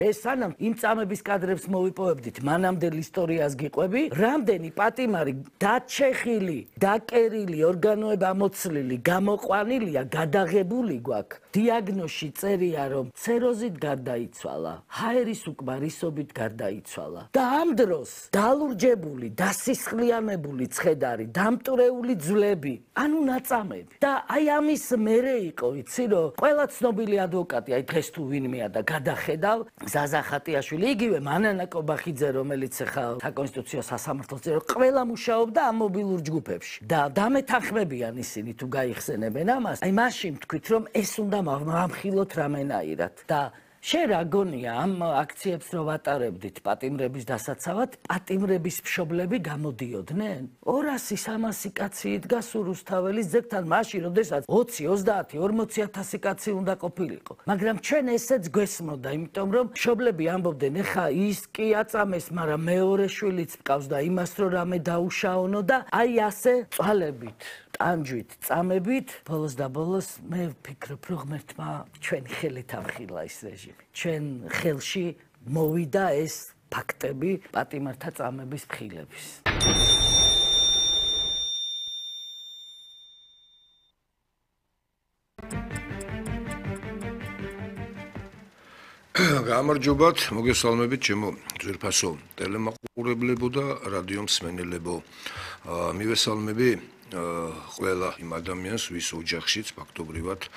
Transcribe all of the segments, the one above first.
ეს სანამ იმ წამების კადრებს მოვიპოვებდით, მანამდელ ისტორიას გიყვები, რამდენი პატიმარი დაჩეხილი, დაკერილი, ორგანოები ამოცლილი, გამოყვანილია, გადაღებული გვაქვს. დიაგნოზში წერია, რომ ცეროზით გარდაიცვალა, ჰაერის უკმარისობით გარდაიცვალა. და ამ დროს დალურჯებული, დასისხლიანებული ცხედარი, დამტვრეული ძვლები, ანუ ნაწამები. და აი ამის მერე იყო, იცი რომ ყველა ცნობილი ადვოკატი, აი დღეს თუ ვინმეა და გადახედავ, ზაზა ხატიაშვილი, იგივე მანანა კობახიძე, რომელიც ახლა საკონსტიტუციო სასამართლოს წევრი, ყველა მუშაობდა ამ მობილურ ჯგუფებში. და დამეთანხმებიან ისინი თუ გაიხსენებენ ამას, აი მაშინ თქვით რომ ეს უნდა მამხილოთ რამენაირად. და შენ რა გონია ამ აქციებს რო ვატარებდით პატიმრების დასაცავად, პატიმრების მშობლები გამოდიოდნენ? 200-300 კაცი იდგა სურუსთაველის ძეგლთან მაშინ, როდესაც 20, 30, 40,000 კაცი უნდა ყოფილიყო. მაგრამ ჩვენ ესეც გვესმოდა, იმიტომ რომ მშობლები ამბობდნენ, ეხა ის კი აწამეს, მაგრამ მეორე შვილიც მყავს და იმას რო რამე დაუშაონო და აი ასე წვალებით. ტანჯვით, წამებით, ბოლოს და ბოლოს მე ვფიქრობ, რომ ღმერთმა ჩვენი ხელით ამხილა ეს რეჟიმი. ჩვენ ხელში მოვიდა ეს ფაქტები პატიმართა წამების მხილების. გამარჯობათ, მოგესალმებით ჩემო ძვირფასო ტელემაყურებლებო და რადიო მსმენელებო. მივესალმები ყველა იმ ადამიანს, ვის ოჯახშიც ფაქტობრივად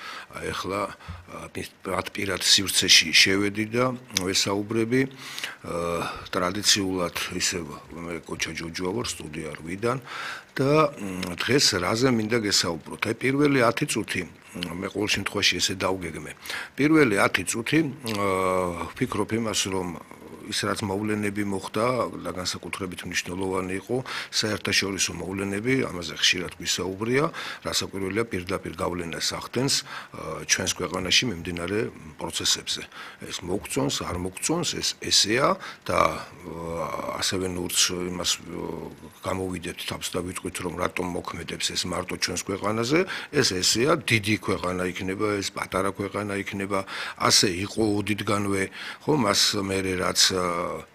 ეხლა პირად სივრცეში შევედი და ვესაუბრები. ტრადიციულად ისევ მე კოჩა ჯოჯოა ვარ, სტუდია 8-დან და დღეს რაზე მინდა გესაუბროთ. აი პირველი 10 წუთი მე ყოველ შემთხვევაში ესე დავგეგმე. პირველი 10 წუთი ვფიქრობ იმას, რომ ის რაც მოვლენები მოხდა და განსაკუთრებით მნიშვნელოვანი იყო საერთაშორისო მოვლენები, ამაზე ხშირად გვისაუბრია, რასაკვირველია პირდაპირ გავლენას ახდენს ჩვენს ქვეყანაში მიმდინარე პროცესებზე. ეს მოგწონს, არ მოგწონს, ეს ესეა და ასევე ნურც იმას გამოვიდეთ თავს და ვიტყვით, რომ რატომ მოქმედებს ეს მარტო ჩვენს ქვეყანაზე, ეს ესეა, დიდი ქვეყანა იქნება, ეს პატარა ქვეყანა იქნება, ასე იყო ოდითგანვე, ხო, მას მერე რაც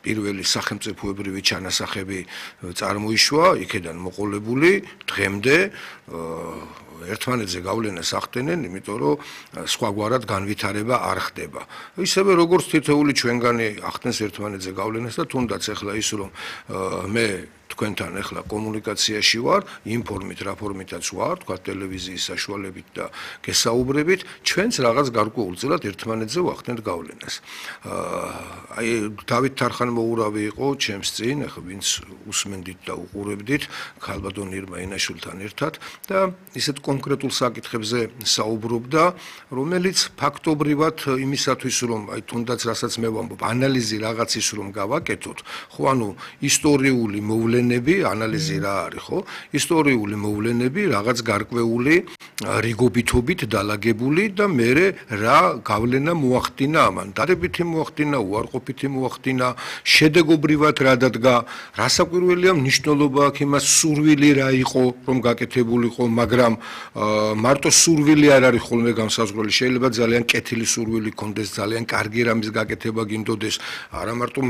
პირველი სახელმწიფოებრივი ჩანასახები წარმოიშვა, იქედან მოყოლებული დღემდე ერთმანეთზე გავლენას ახდენენ, იმიტომ რომ სხვაგვარად განვითარება არ ხდება. ისევე როგორც თითოეული ჩვენგანი ახდენს ერთმანეთზე გავლენას და თუნდაც ახლა ის რომ მე თქვენთან ახლა კომუნიკაციაში ვარ, ინფორმით, რაფორმითაც ვარ, თქვა ტელევიზიის საშუალებით და გესაუბრებით, ჩვენც რაღაც გარკვეულწილად ერთმანეთზე ვახდენთ გავლენას. აი დავით თარხანმოურავი იყო ჩემს წინ, ახლა ვინც უსმენდით და უყურებდით, ქალბატონ ირმა ინაშვილთან ერთად და ისეთ კონკრეტულ საკითხებზე საუბრობდა, რომელიც ფაქტობრივად იმისათვის რომ აი თუნდაც რასაც მე ვამბობ, ანალიზი რაღაცის რომ გავაკეთოთ, ხო ანუ ისტორიული მოვლენები, ანალიზი რა არის, ხო? ისტორიული მოვლენები, რაღაც გარკვეული რიგობითობით დალაგებული და მერე რა გავლენა მოახდინა ამან. დადებითი მოახდინა, უარყოფითი მოახდინა, შედეგობრივად რა დადგა, რასაკვირველია მნიშვნელობა აქვს იმას, სურვილი რა იყო, რომ გაკეთებულიყო, მაგრამ მარტო სურვილი არ არის ხოლმე განსაზღვრელი, შეიძლება ძალიან კეთილი სურვილი გქონდეს, ძალიან კარგი რამის გაკეთება გინდოდეს, არა მარტო